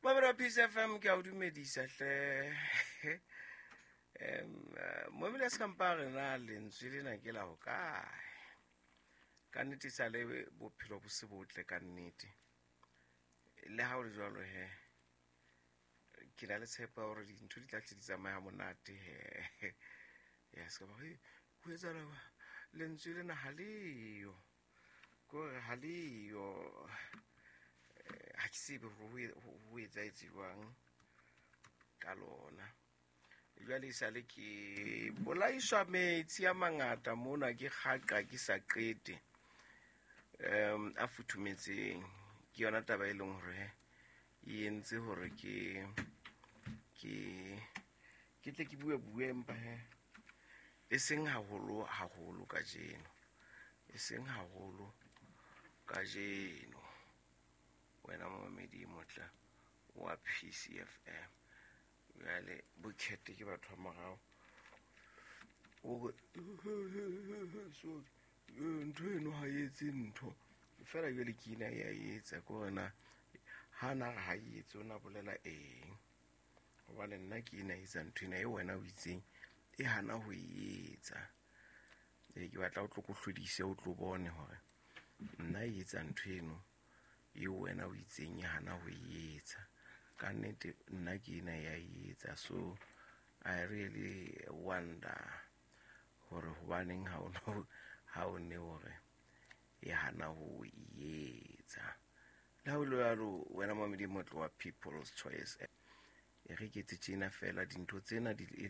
Mamelo wa Peace FM, ke a o dumedisa hle. Moemedi a se kampa re na lentswe lena ke la hokae? Ka nnete sa le bophelo bo se botle ka nnete. Le ha o le jwalo he, ke na le tshepo ya hore dintho di tla tle di tsamaya monate he. Ya se ka ba ho etsahala lentswe lena ha leyo. Kore ha leyo, ha ke tsebe hore ho etsahetse jwang ka lona. Jwale e sale ke bolaiswa metsi a mangata mona, ke kgaqa ke sa qete, a futhumetseng. Ke yona taba e leng hore e entse hore ke tle ke bue bue, empa he e seng haholo haholo kajeno, e seng haholo kajeno. Wena momamedi e motle wa PCFM, jwale bokete ke batho ba morao o sorry, ntho eno ha e etse ntho fela. Jwale ke ina ya etsa ke hore na ha na re ha e etse, o na bolela eng? Hobane nna ke ena etsa ntho ena e wena o itseng e hana ho e etsa. Ee, ke batla o tlo ko hlodise, o tlo bone hore nna e etsa ntho eno eo wena o itseng e hana ho e etsa. Ka nnete nna ke ena ya e etsa. So I really wonder hore hobaneng ha o ne hore e hana ho e etsa. Le ha o le jwalo, wena mamedi motle wa People's Choice, e re ke etse tjena fela dintho tsena di e.